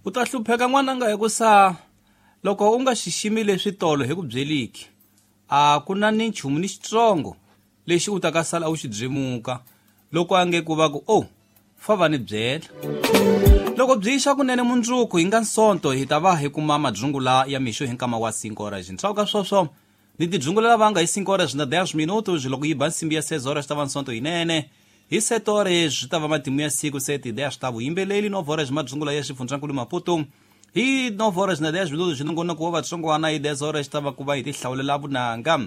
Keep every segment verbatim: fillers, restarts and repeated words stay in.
U ta hlupheka n'wananga hikusa loko u nga xiximi leswi tolo hi ku byeliki a ku na ni nchumu ni xitsongo lexi u ta ka sala u xi byemuka loko a nge ku va ku o fa va ni byela. Loko byi xa kunene mundzuku hi nga Sonto hi ta va hi kuma madzungula ya mixo hi nkama wa cinco horas. Ntshaku ka swoswo ni tidzungulela vanga hi cinco horas na dez minutos loko yi ba nsimbi ya seis horas ta va Sonto yinene. Hi sete horas swi ta va matimu ya siku sete dez ta vuyimbeleli nove horas madzungula ya xifundzankulu Maputo. Hi nove horas na dez minutos nongonoko wa vatsongwana hi dez horas ta va ku va hi tihlawulela vunanga.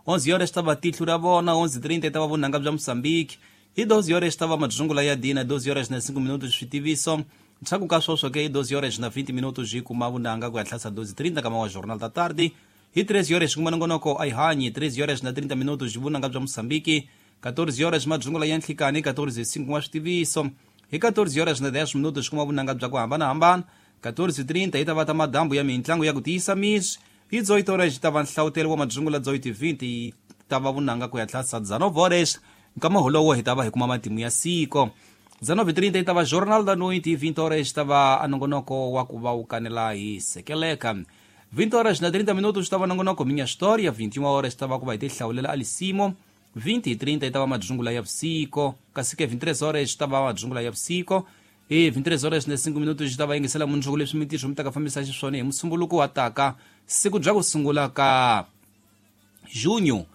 Onze horas ta va tihlu ra vona, onze trinta ta va vunanga bya Mozambique. Hi doze horas ta va madzungula ya dina, doze horas na cinco minutos switiviso. Ntshaku ka swoswo ke hi doze horas na vinte minutos hi kuma vunanga ku ya tlhasa doze trinta kama wa Jornal da Tarde. Hi treze horas kuma nongonoko a hi hanyi, treze horas na trinta minutos vunanga bya Mozambique. quatorze horas madzungula ya nhlikani, quatorze cinco wa switiviso. Hi quatorze horas na dez minutos kuma vunanga bya ku hambanahambana. quatorze trinta hi ta va ta madambu ya mintlangu ya ku tiyisa misi. Hi dezoito horas ta va nhlawutelo wa madzungula dezoito vinte ta va vunanga ku ya tlhasa dezenove horas. Nkama holowo hi ta va hi kuma matimu ya siko. dezenove trinta hi ta va Jornal da Noite, vinte horas ta va anongonoko wa ku va wu kanela hi sekeleka. vinte horas na trinta minutos ta va nongonoko Minha História, vinte e uma horas ta va ku va hi tihlawulela Alisimo. vinte e trinta hi ta va madzungula ya vusiku, kasi ke vinte e três horas ta va madzungula ya vusiku. Hi vinte e três horas na cinco minutos ta va yingisela mundzuku leswi mintirho mi ta ka fambisa xiswona hi musumbuluko wa taka siku bya ku sungula ka junho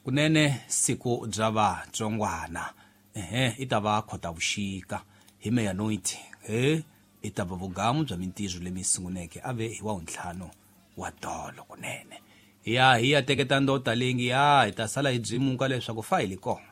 kunene siku bya vatsongwana. Ehe i ta va Khotavuxika hi meia-noite he i ta va vugamu bya mintirho lemi sunguneke ave hi wa ntlhanu wa tolo kunene. Ya hi ya teketa ndota lengi ya hi ta sala hi byimuka leswaku fa hi li kona.